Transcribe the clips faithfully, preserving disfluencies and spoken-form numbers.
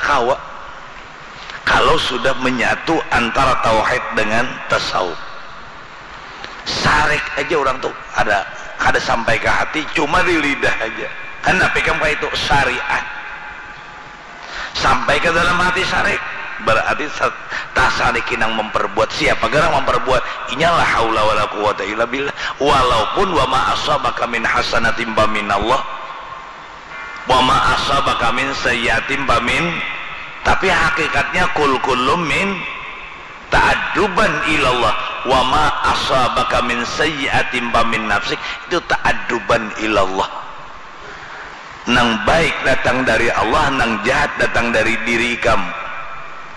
Kawa. Kalau sudah menyatu antara tauhid dengan tasawuf. Sarik aja orang tuh ada kada sampai ke hati, cuma di lidah aja. Kan tapi kan kayak itu syariat. Sampai ke dalam hati sarik. Berarti tasariki nang memperbuat. Siapa garang memperbuat? Inyalah haula wala quwata illa billah. Walaupun wa ma asabaka min hasanatin minallah. Wa ma asabaka min sayyiatin famin, tapi hakikatnya kul kullum min ta'adduban ilallah. Wa ma asabaka min sayyiatin famin nafsik, itu ta'adduban ilallah. Nang baik datang dari Allah, nang jahat datang dari diri ikam.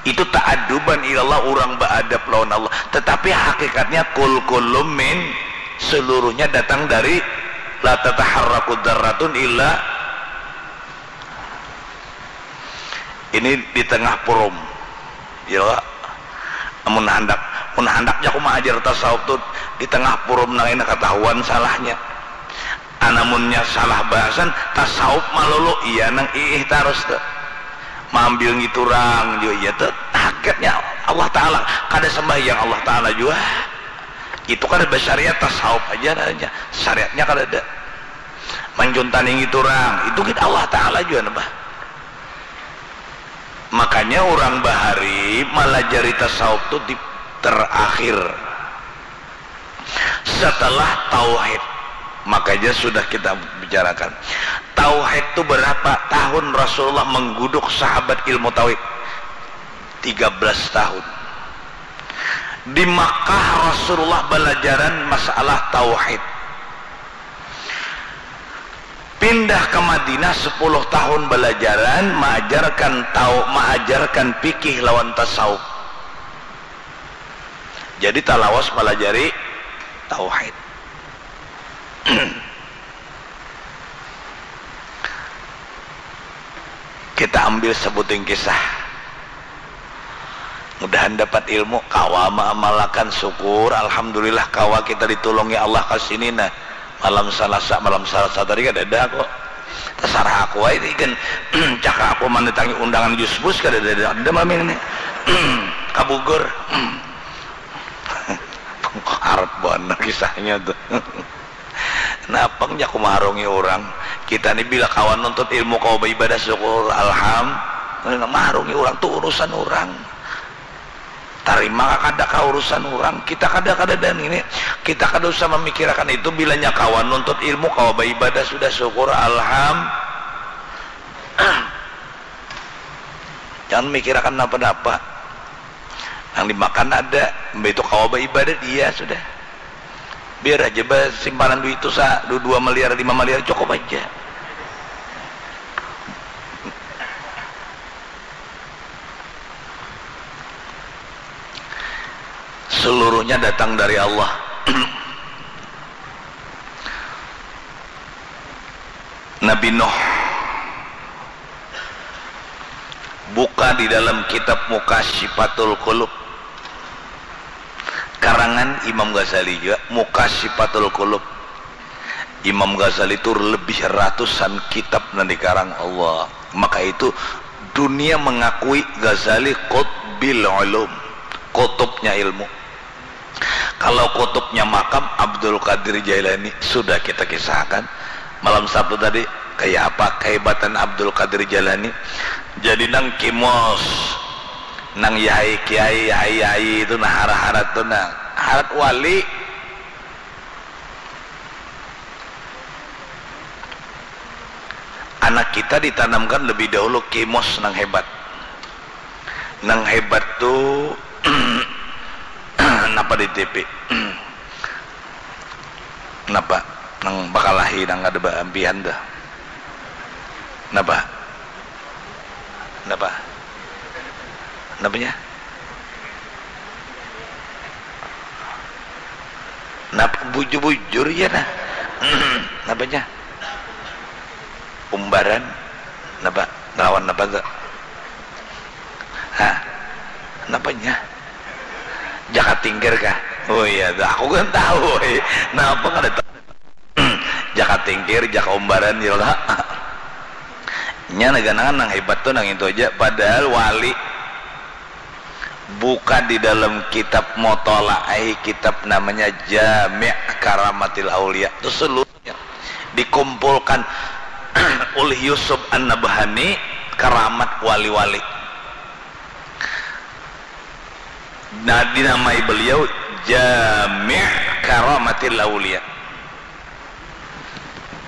Itu ta'adduban ilallah, urang baadab lawan Allah. Tetapi hakikatnya kul kullum min, seluruhnya datang dari la tataharraku dzarratun illa ini di tengah purum. Ya, mun handak, mun handak jaku maajar tasawuf tu di tengah purum nang ini katahuan salahnya. Anamunnya salah bahasan, tasawuf malolo, iya nang iih tarus tu. Maambil ngiturang jua iya tu. Hakikatnya Allah Ta'ala, kada sambahyang Allah Ta'ala jua. Itu kada basyariat, tasawuf aja namanya. Syariatnya kada ada. Mancuntani ngiturang, itu gin Allah Ta'ala jua nambah. Makanya urang bahari malajari tasawuf tu di terakhir. Setelah tauhid, makanya sudah kita bicarakan. Tauhid tu berapa tahun Rasulullah mengguduk sahabat ilmu tauhid? Tiga belas tahun. Di Makkah Rasulullah balajaran masalah tauhid. Pindah ke Madinah sepuluh tahun balajaran maajarkan tau maajarkan fikih lawan tasawuf. Jadi talawas malajari tauhid. Kita ambil sebuting kisah. Mudahan dapat ilmu, kawa maamalakan, syukur, alhamdulillah kawa kita ditulungi Allah ka sini nah. Malam Salasa, malam Salasa tadi kadada aku. Tasarah aku ai ni kan. Caka aku mandatangi undangan Jusbus kadada, ada malam ini. Ka Bogor. Harap banar kisahnya tuh. Napang jaku maharungi urang. Kita ni bila kawa nuntut ilmu, kawa baibadah, syukur, alham. Maharungi urang tu urusan urang. Tarima ka kada ka urusan urang. Kita kada, kadada ngini. Kita kada usah mamikirakan itu, bilanya kawa nuntut ilmu, kawa baibadah, sudah syukur, alham. Jangan mikirakan napa-napa. Nang dimakan ada, mbah itu kawa baibadah dia sudah. Biar aja bah simpanan duit tu sa, du-, dua miliar, lima miliar cukup aja. Seluruhnya datang dari Allah. Nabi Nuh. Buka di dalam kitab Mukasyifatul Qulub. Karangan Imam Ghazali juga, Mukasyifatul Qulub. Imam Ghazali itu lebih ratusan kitab nang dikarang Allah. Maka itu dunia mengakui Ghazali qutbil ulum, kutubnya ilmu. Kalau kutubnya makam Abdul Qadir Jailani sudah kita kisahkan malam Sabtu tadi, kaya apa kehebatan Abdul Qadir Jailani. Jadi nang kimos, nang yahai kiai, yahai yai itu nah, hara-hara tu nah, harat wali. Anak kita ditanamkan lebih dahulu kimos nang hebat. Nang hebat tu napa di T V? Napa? Nang bakalahi nang kada baampihan tuh. Napa? Napa? Napanya? Napa bujur-bujur ya nah? Napanya? Umbaran, napa? Ngelawan napa tu? Hah? Napanya? Jakat tingkir kah? Oh iya, aku kan tahu. Napa kada tahu? Jaka tingkir, jaka umbaran, ya lah. Nya ganangan nang hebat tu nang itu aja, padahal wali buka di dalam kitab mutolaahi kitab namanya Jami' Karamatil Aulia tu seluruhnya dikumpulkan oleh Yusuf An-Nabhani karamat wali-wali. Nah, dinamai beliau Jami' Karamatil Aulia.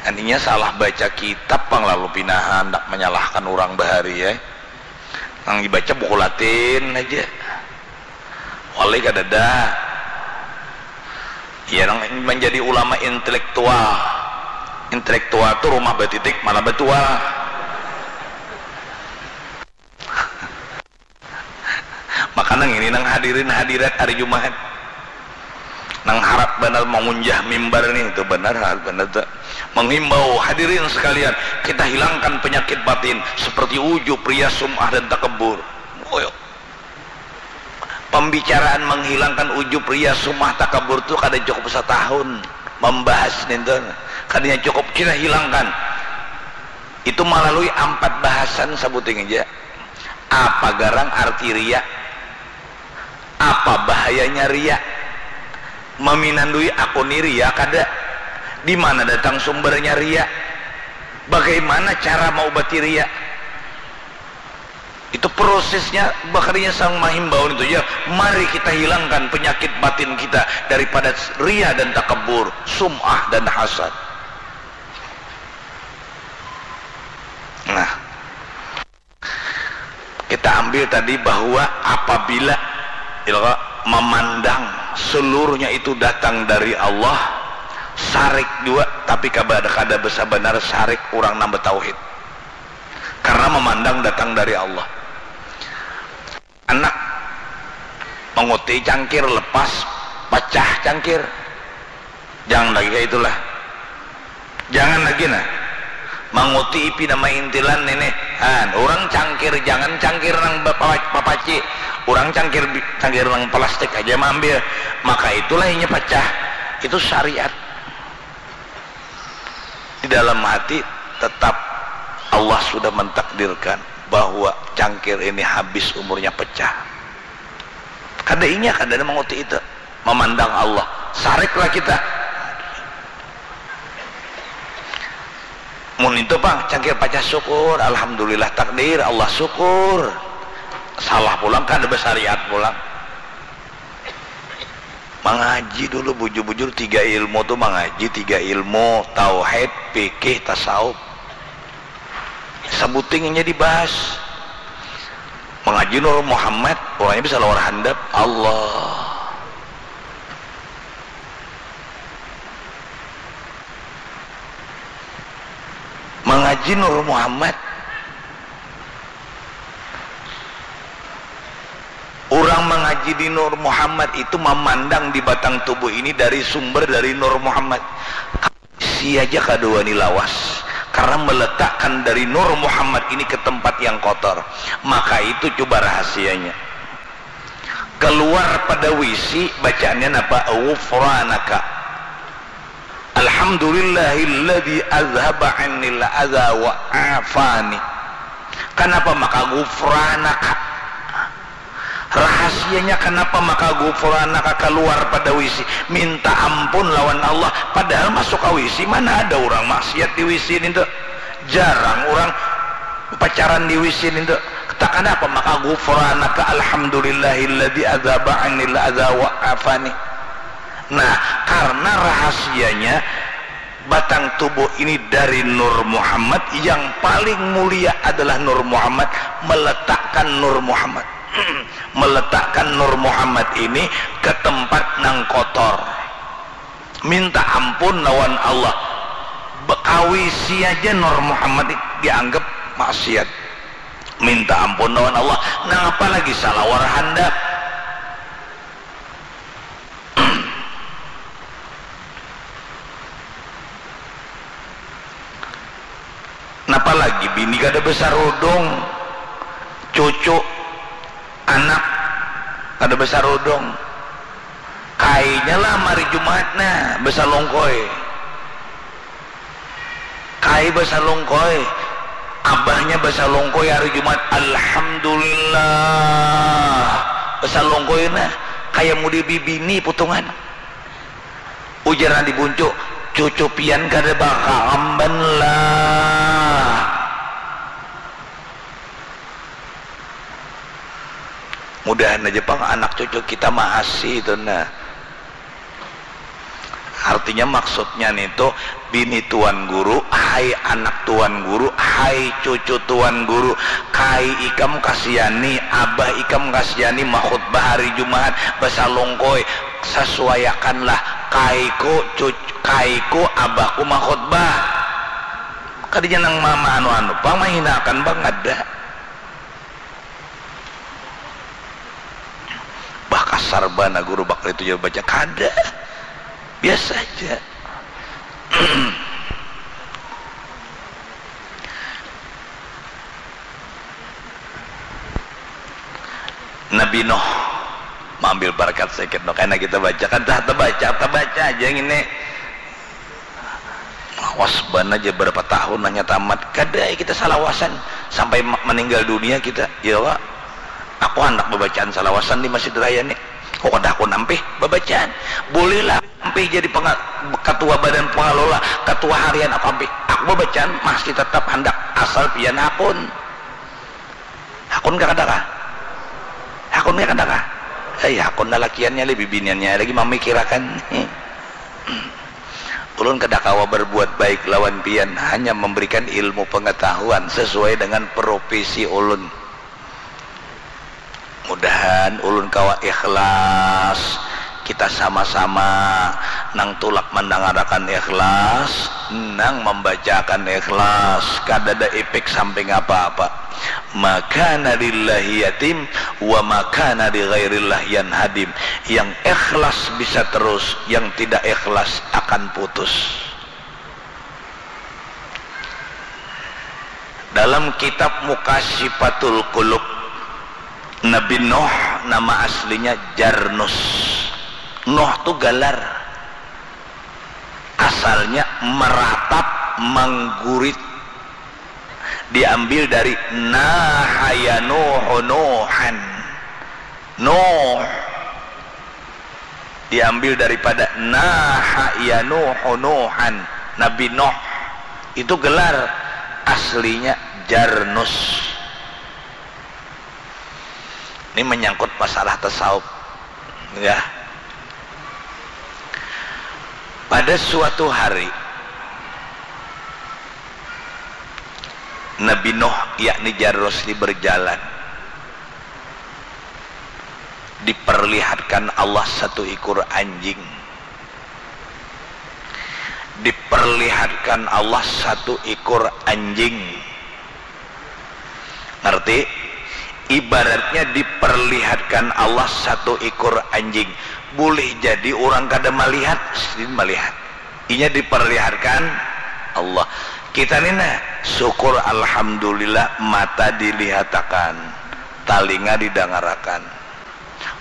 Antinya salah baca kitab pang lalu pina handak manyalahkan urang bahari ai. Nang dibaca buku latin haja. Wali kadada. Iya nang manjadi ulama intelektual. Intelektual tu rumah batitik mana batual. Maka nang ini nang hadirin hadirat hari Jumahat nang harat banar mangunjah mimbar nih, itu banar harat banar tu. Menghimbau hadirin sekalian, kita hilangkan penyakit batin seperti ujub, riya, sum'ah dan takabur. Woyo. Pembicaraan menghilangkan ujub, riya, sum'ah, takabur tu kada cukup satahun membahas nintu. Kadanya cukup kita hilangkan. Itu melalui ampat bahasan sabuting aja. Apa garang arti riya? Apa bahayanya riya? Maminandui aku ni riya kada? Di mana datang sumbernya riya? Bagaimana cara maubati riya? Itu prosesnya, makanya sang mahimbau itu ya, mari kita hilangkan penyakit batin kita daripada riya dan takabur, sum'ah dan hasad. Nah, kita ambil tadi bahwa apabila ilqa memandang seluruhnya itu datang dari Allah, syarik jua, tapi kada kada besabanar syarik urang nang betauhid. Karena memandang datang dari Allah. Anak manguti cangkir, lepas, pacah cangkir. Jangan lagi kayak itulah. Jangan lagi nah. Manguti ipi nama intilan ini. Han, orang cangkir, jangan cangkir nang bapa- papaci. Orang cangkir bi- cangkir nang plastik aja maambil. Maka itulah inya pacah. Itu syariat. Di dalam hati tetap Allah sudah mentakdirkan bahwa cangkir ini habis umurnya, pecah. Kada inya, kada ada manguti itu. Memandang Allah. Sariklah kita. Mun itu pang cangkir pacah, syukur, alhamdulillah, takdir Allah, syukur. Salah pulang, kada besyariat pulang. Mangaji dulu bujur-bujur tiga ilmu tu, mangaji tiga ilmu, tauhid, fikih, tasawuf. Sabuting inya dibahas. Mangaji Nur Muhammad, urangnya bisa lawar handap. Allah. Mangaji Nur Muhammad. Urang mangaji di Nur Muhammad itu mamandang di batang tubuh ini dari sumber dari Nur Muhammad. Sia ja kada wani lawas, karena meletakkan dari Nur Muhammad ini ke tempat yang kotor. Maka itu coba rahasianya. Keluar pada wisi, bacaannya napa? Ghufranaka. Alhamdulillahilladzi azhaba annil adza wa afani. Kanapa maka ghufranaka? Rahasianya kanapa maka ghufranaka kaluar pada wisi? Minta ampun lawan Allah. Padahal masuk ka wisi, mana ada urang maksiat di wisi nintu? Jarang urang pacaran di wisi nintu. Takanapa maka ghufranaka alhamdulillahilladzi adzhaba annil adza wa afani. Nah, karena rahasianya batang tubuh ini dari Nur Muhammad, yang paling mulia adalah Nur Muhammad, meletakkan Nur Muhammad. Meletakkan Nur Muhammad ini ke tempat nang kotor. Minta ampun lawan Allah. Bekawisi aja Nur Muhammad dianggap maksiat. Minta ampun lawan Allah. Nang apa lagi salawar handap. Napa lagi bini kada besarudung, cucu, anak kada besarudung. Kainya lah mari Jumat nah besalungkoi. Kai besalungkoi. Abahnya basalungkoi hari Jumat, "Alhamdulillah." Basalungkoi nah, kaya mudi bibini putungan. Ujar nang di buncu, "Cucu pian kada bakaamban lah." Mudahan aja pang anak cucu kita maasi itu nah. Artinya maksudnya nitu, bini tuan guru, hai anak tuan guru, hai cucu tuan guru, kai ikam kasihani, abah ikam kasihani makhutbah hari Jumaat, basalungkoi, sasuaiakanlah, kaiku cucu, kaiku abahku makhutbah. Kadinya nang ma-, ma-, anu-anu pang, mahinakan pang, kada. Bah, kasar banar guru bakal itu ja baca. Kada. Biasa aja. Nabi Nuh maambil barakat sedikit, Nuh. Karena kita baca, kan dah tabaca, tabaca aja ngini. Lawas banar ja, berapa tahun hanya tamat. Kada ai kita salawasan sampai ma-, meninggal dunia kita. Ya, Pak. Aku handak babacaan salawasan di Masjid Raya ni. Oh, kada aku nampih babacaan. Bolehlah ampih jadi penga-, ketua badan pengelola, ketua harian aku ampih. Aku babacaan masih tetap handak, asal pian hakun. Hakun kah kada kah? Hakun kah kada kah? Ai, hakun lalakiannya lagi, bibiniannya lagi mamikirakan. Ulun kada kawa berbuat baik lawan pian, hanya memberikan ilmu pengetahuan sesuai dengan profesi ulun. Mudahan ulun kawa ikhlas. Kita sama-sama nang tulak mandangarakan ikhlas, nang mambacaakan ikhlas, kadada ipik samping apa-apa. Ma kana lillahi yatim, wa ma kana li ghairillah yanhadim. Yang ikhlas bisa terus, yang tidak ikhlas akan putus. Dalam kitab Mukasyifatul Qulub, Nabi Nuh nama aslinya Jarnus. Nuh tu galar. Asalnya meratap, manggurit. Diambil dari naha yanuhu nuhan. Nuh. Diambil daripada naha yanuhu nuhan, Nabi Nuh. Itu gelar aslinya Jarnus. Ini menyangkut masalah tasawuf. Ya. Pada suatu hari, Nabi Nuh, yakni Jarnus, ini berjalan. Diperlihatkan Allah satu ikor anjing. Diperlihatkan Allah satu ikor anjing. Ngerti? Ibaratnya diperlihatkan Allah satu ikor anjing. Boleh jadi urang kada malihat, sidin malihat. Inya diperlihatkan Allah. Kita ni nah, syukur alhamdulillah, mata dilihatakan, talinga didangarakan.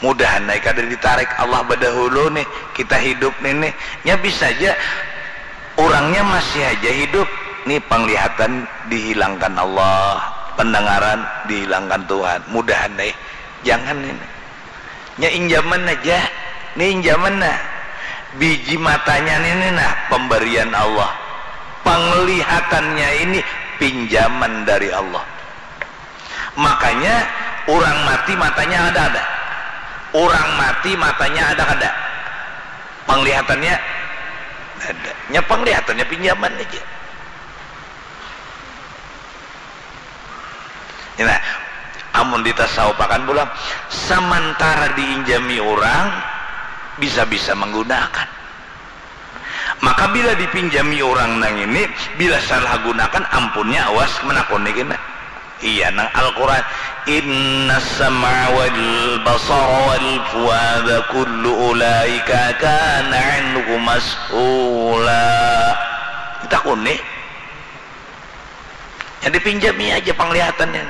Mudahan ai kada ditarik Allah badahulu nih, kita hidup ni nih. Nya bisa ja urangnya masih haja hidup, nih panglihatan dihilangkan Allah, pendengaran dihilangkan Tuhan. Mudahan ai, jangan ini. Nya injaman aja, ni injaman nah. Biji matanya ni, ni nah, pemberian Allah. Penglihatannya ini pinjaman dari Allah. Makanya urang mati matanya ada kada? Urang mati matanya ada kada? Penglihatannya ada. Nya penglihatannya pinjaman aja. Nah, amun ditasawufakan pulang, samantara diinjami urang, bisa-bisa manggunakan. Maka bila dipinjami urang nang ini, bila salah gunakan, ampunnya awas menakuni kena. Iya, nang Al-Quran, "Inna sam'a wal basara wal fuada kullu ulaika kana anhu mas'ula." Ditakuni. Yang dipinjami aja penglihatannya.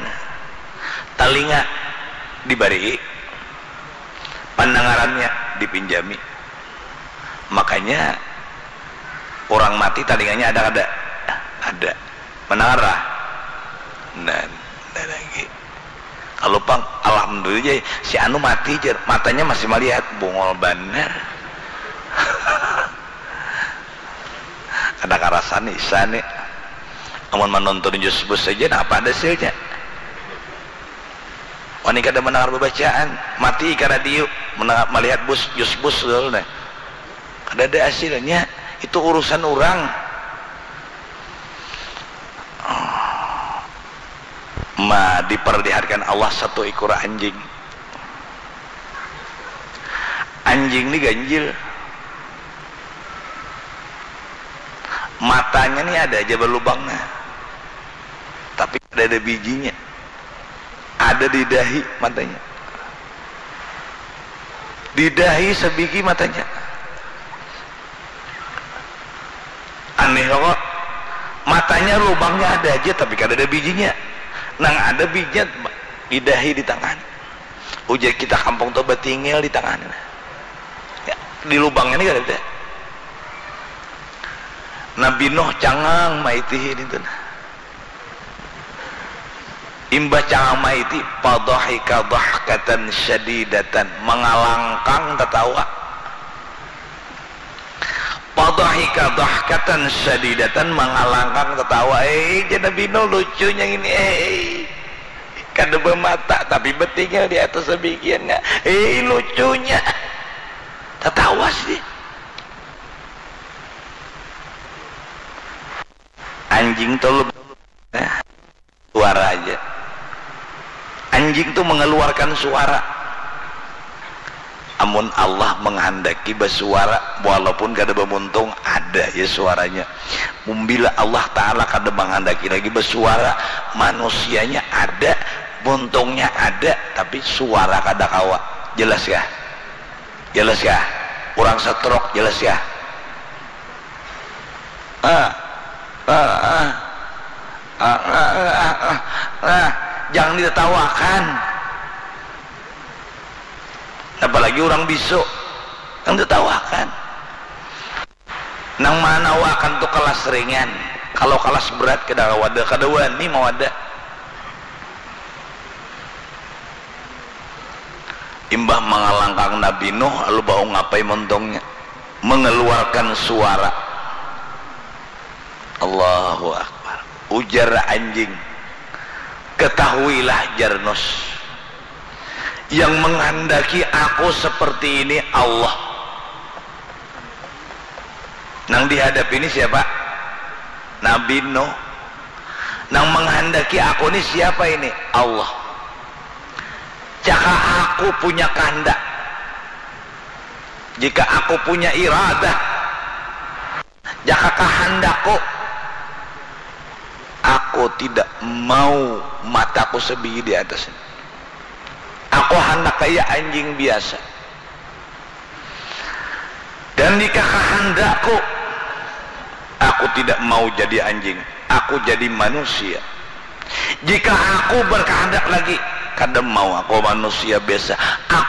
Talinga dibari, pandangarannya dipinjami. Makanya urang mati talinganya ada kada? Ada. Mandangar lah. Nah, nah lagi. Kalau pang, alhamdulillah, si anu mati, jar. Matanya masih malihat, bungul banar. Kada karasan isa ni. Amun manonton Jus Bus saja, nah, apa ada hasilnya? Wani kada mendengar bebacaan, mati ka radio, mendengar, melihat bus, Jus Bus, nah. Kada ada hasilnya. Itu urusan orang. Ma, diperlihatkan Allah satu ikor anjing. Anjing ni ganjil. Matanya ni ada aja balubangnya. Tapi kada ada bijinya. Ada di dahi matanya. Di dahi sabigi matanya. Aneh kok. Matanya lubangnya ada aja tapi kada ada bijinya. Nang ada bijinya di dahi, di tangan. Ujar kita kampung tu batingil di tangan. Ya, di lubangnya ni kada ada. Nabi Nuh cangang maitihi nintu nah. Imbah cangang maiti, fadhahika dhahkatan syadidatan, mangalangkang tatawa. Fadhahika dhahkatan syadidatan, mangalangkang tatawa. Eh, jar Nabi Nuh, lucunya ini, eh. Kada bamata, tapi batinggal di atas sabigian, nga. Eh, lucunya. Tatawa sih. Anjing tu lu, eh, suara aja. Anjing tu mengeluarkan suara. Amun Allah menghendaki basuara, walaupun kada bamuntung, ada ja suaranya. Mun bila Allah Ta'ala kada menghendaki lagi basuara, manusianya ada, muntungnya ada, tapi suara kada kawa. Jelas kah? Jelas kah? Urang stroke, jelas kah? Ah, ah, ah. Ah, ah, ah, ah, ah. Jangan ditatawakan. Apalagi urang bisu. Jangan ditatawakan. Nang manawakan tu kelas ringan. Kalau kelas berat kada wada, kada wani mawada. Imbah mangalangkang Nabi Nuh, lalu baungapai muntungnya? Mengeluarkan suara. Allahu Akbar. Ujar anjing, "Ketahuilah, jar Nuh, yang menghendaki aku seperti ini Allah." Nang dihadap ini siapa? Nabi Nuh. Nang menghendaki aku ni siapa ini? Allah. Jika aku punya kehendak, jika aku punya iradah, jaka kahandakku, aku tidak mau mataku sebigi di atas ini. Aku handak kaya anjing biasa. Dan jika kahandakku, aku tidak mau jadi anjing, aku jadi manusia. Jika aku berkehendak lagi, kada mau aku manusia biasa. Aku